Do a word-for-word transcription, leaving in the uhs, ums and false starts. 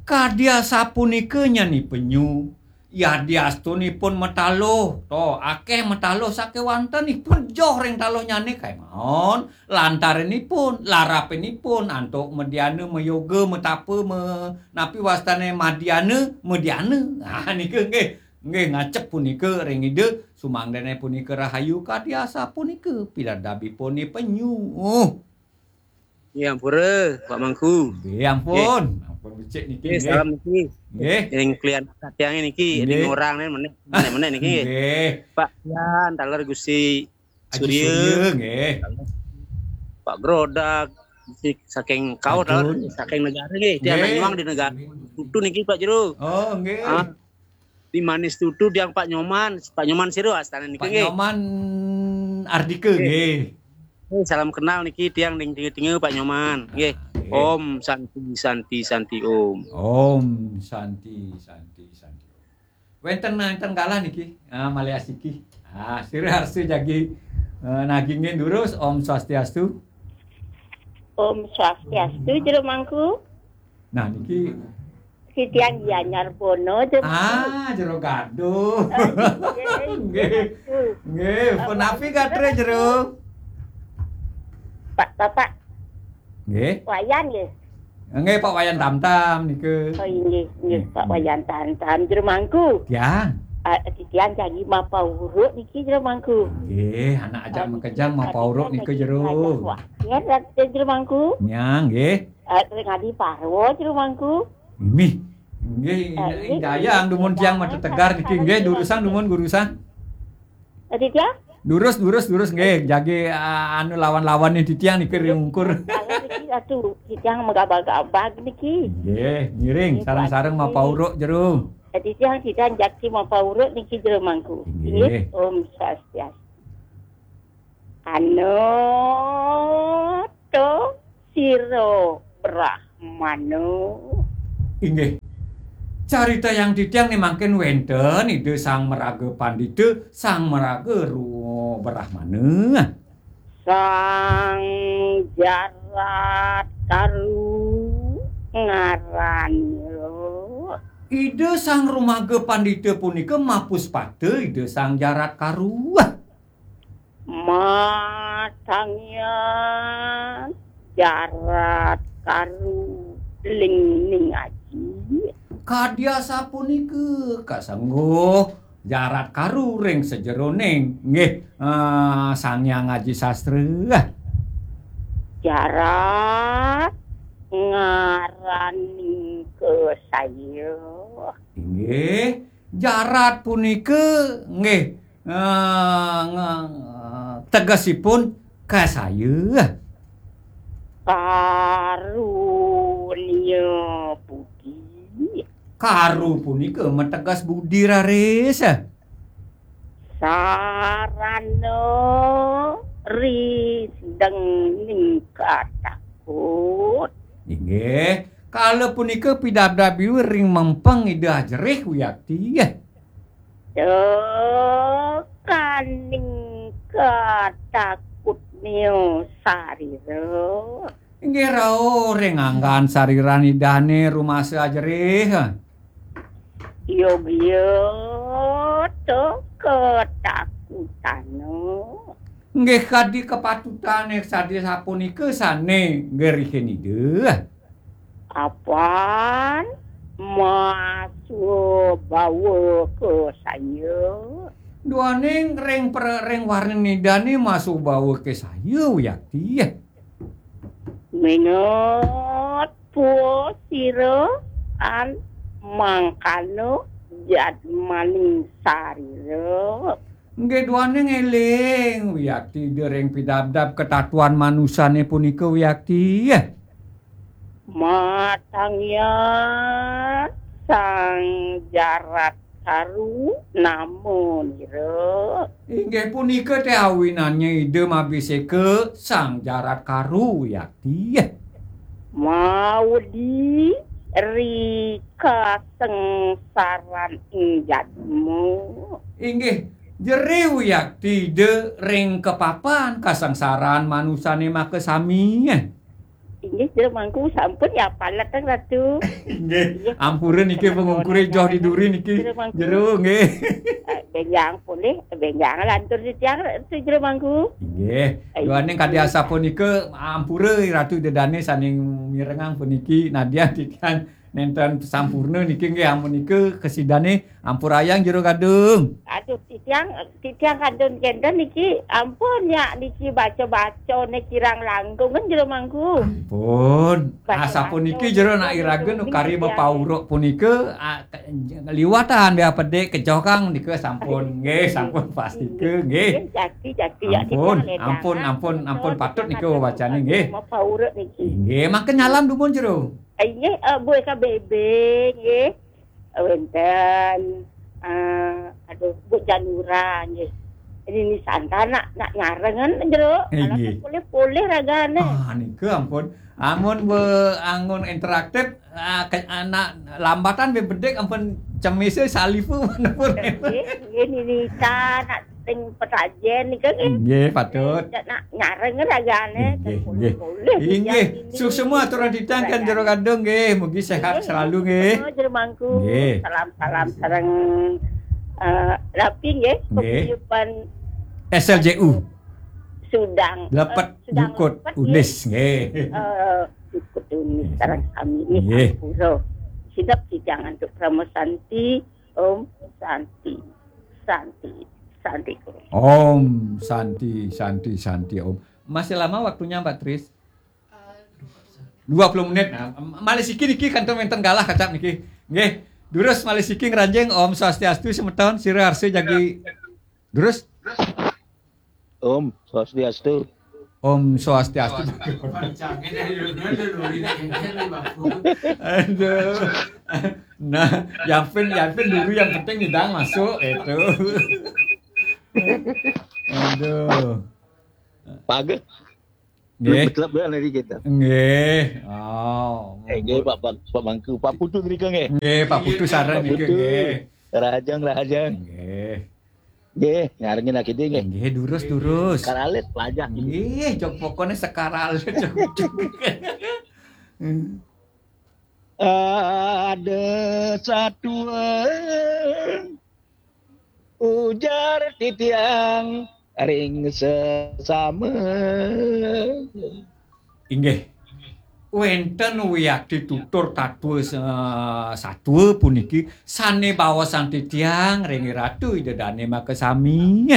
Kadi asapunika nyan ni penyu, yadiastunipun mataluh, to, akeh mataluh sakewanten ipun joh ring taluhnyané kaemaon, lantarinipun, larapinipun, antuk mediana, mayoga, matapa, me-, napi wastané madiana, mediana. Ah, nika nggih, nggih ngacep punika ring Ida, sumangdané punika rahayu kadi asapunika pidabdabipun ni penyu. Ya, ampura, Pak Mangku. Nggih, ampun. Nggih. Ampun becik niki, nggih, nggih, salam niki. Nggih. Ring klian katiangé niki, nggih, ring orang né menék, menék, menék niki. Nggih. Pak Yan, taler Gusti Aji Surya. Surya, nggih. Pak Grodak, si-, saking kau, taler, aduh, saking negara nggih. Tiang, nggih, nyuang di negara. Tutu niki, Pak Jero. Oh, nggih. Ah. Di Manis Tutu tiang Pak Nyoman, Pak Nyoman sira astana niki, Pak nggih. Nyoman Ardika, nggih, nggih. Eh, salam kenal niki tiang ning tinga-tinga Pak Nyoman, nggih. Nggih. Om Santi, Santi, Santi, Om. Om Santi, Santi, Santi, Om. Wénten, wénten galah niki, ah, malih asiki. Ah, sira arsa jagi, eh, nagingin durus, Om Swastiastu. Om Swastiastu, Jero Mangku. Nah, niki Titiang Gianyar Bono, Jero Mangku. Ah, Jero Gaduh. Oh, nggih, nggih, Jero Mangku. Nggih, punapi gatra, Jero? Pak, Bapak. Nggih. Wayan, nggih. Nggih, Pak Wayan Tamtam nika. Oh, inggih, inggih, Pak, hmm, Wayan Tamtam, Jero Mangku. Tiang. Ah, titiang jagi mapauruk niki, Jero Mangku. Nggih, anak ajak, ah, makejang niki mapauruk nika, Jero. Wah, ya, Jero Mangku. Nya, nggih. Eh, ring Adi Parwa, Jero Mangku. Mih. Nggih, eh, nggih, dayang dumun tiang matetegar niki, nggih, durusang dumun, gurusang. Titiang? Durus, durus, durus, nggih. Jagi, ah, anu, lawan-lawan nih titiang niki ring ungkur. Kalau niki, aduh, titiang magabag-abag niki. Nggih, ngiring, nggih, sareng-sareng mapauruk, Jero. Titiang, titiang jagi mapauruk niki, Jero Mangku. Nggih. Nggih, Om Swastiastu. Anata sira Brahmana. Inggih. Caritayang titiang né mangkin wénten Ida Sang Maraga Pandita, Sang Maraga Ru-, Brahmana. Sang Jarat Karu ngaranira. Ida Sang Rumaga Pandita punika mapuspata Ida Sang Jarat Karu. Matangyan Jarat Karu ling ning aji. Kadi asapunika kasengguh Jarat Karu ring sajeroning, nggih, eh, Sang Hyang Aji Sastra. Jarat ngaraning kasaya. Inggih, Jarat punika nggih, eh, nge-, tegesipun kasaya. Karunia budi. Karu punika mateges budi raris. Sarana risdeng ning katakut. Inggih, kala punika pidabdab iwir ring mempeng Ida Ajerih wiakti. Tekaning katakutnya sarira. Inggih rauh ring anggan sariran Idané rumasa Ajerih. Yogya to katakutana. Inggih kadi kapatutané sadi sapunika sané ngerihin Ida. Apan masubawa kasaya. Duaning ring pre-, ring warnin Idané masubawa kasaya wiakti. Minut pua sira an mangkana jadmaning sarira. Nggih duaning éling wiakti Ida ring pidabdab katatuan manusané punika wiakti. Matangyan Sang Jarat Karu namanira. Inggih punika té awinannya Ida mabiseka Sang Jarat Karu wiakti. Maudi ri kasengsaran ing jadma. Inggih, jerih wiakti Ida ring kapapan kasengsaran manusané makasami. Inggih, Jero Mangku, sampun ya palet, Ratu. Inggih, ampura niki pengungkure joh di duri niki. Jero Mangku. Jero, nggih. Eh, benjang polih, benjang lantur titiang, Ratu, Jero Mangku. Inggih. Duaning kadi asapunika, ampura Ratu Ida Dane saning mirengang puniki, nadyan titiang nenten sampurna niki, nggih, amun nika kasidane ampurayang Jero Gadung. Aduh, titiang, titiang kantun kenten niki, ampun ya, niki baca-baca ne kirang langkung kan Jero Mangku. Ampun. Baca-baca asapuniki Jero, nak iraga nu kari mapauruk punika, a, ke-, liwatan bea pedik kejoh kang nika sampun. Nggih, sampun pastika, nggih. Nggih, jati, jati, ya, ampun, titiang ledang. Ampun, ampun, ampun, patut nika wacane, nggih. Mapauruk niki. Nggih, mangke nyalam dumun Jero. Inggih, eh, Bu Eka Bebe, nggih. Wenten, eh, aduh, Bu Janura, nggih. Ini Santa nak, nak nyarengan, Jero. Inggih. Polih-polih ragane. Ah, nika ampun. Amun be-, angun interaktif, ah, ke-, anak lambatan be bedik ampun cemise salifu menepur. Nggih, nggih, Nini Ita nak sing pesajen nika, nggih. Nggih, patut. Nak nyareng ragane, nggih, nggih. Polih-polih. Inggih, suksema aturang titiang kan Jero Gadung, nggih. Mugi sehat selalu, nggih. Oh, Jero Mangku. Nggih. Salam-salam sareng, eh, rapi, nggih. Nggih. Paguyuban S L J U. Sudang, Lepet eh, Sudang Jukut Lepet, nggih. Unis, nggih. Eh, Jukut Unis, sareng sami, nggih, nggih. Ampura. Sidap titiang antuk Parama Santi, Om Santi, Santi, Santi. Om Santi, Santi, Santi, Om. Masih lama waktunya, Mbak Tris? Dua puluh menit. Nah, malih siki niki kantun wenten galah kacap niki. Nggih. Durus malih siki ngranjing, Om Swastiastu semeton, sira arsa jagi. Durus. Om Swastiastu. Om Swastiastu. Aduh. Nah, yapin, yapin dulu yang penting nyidang masuk itu. Aduh. Paga. Nggih. Betul betul dari kita. Nggih. Oh. Eh, nggih, Pak, Pak, Pak Mangku, Pak Putu ngrika nggih. Nggih, Pak Putu sareng Pak niki Putu. Nggih. Rahajeng, rahajeng. Nggih. Nggih, ngarengin lagi nggih. Nggih, durus, durus. Karalit pelajar. Nggih, jog pokoknya sekaralit, jog, jog. Ada satu ujar titiang ring sesama. Inggih. Wenten wiakti tutur tatwa sa-, satwa puniki sane baosan titiang ring Ratu Ida Dane makasami.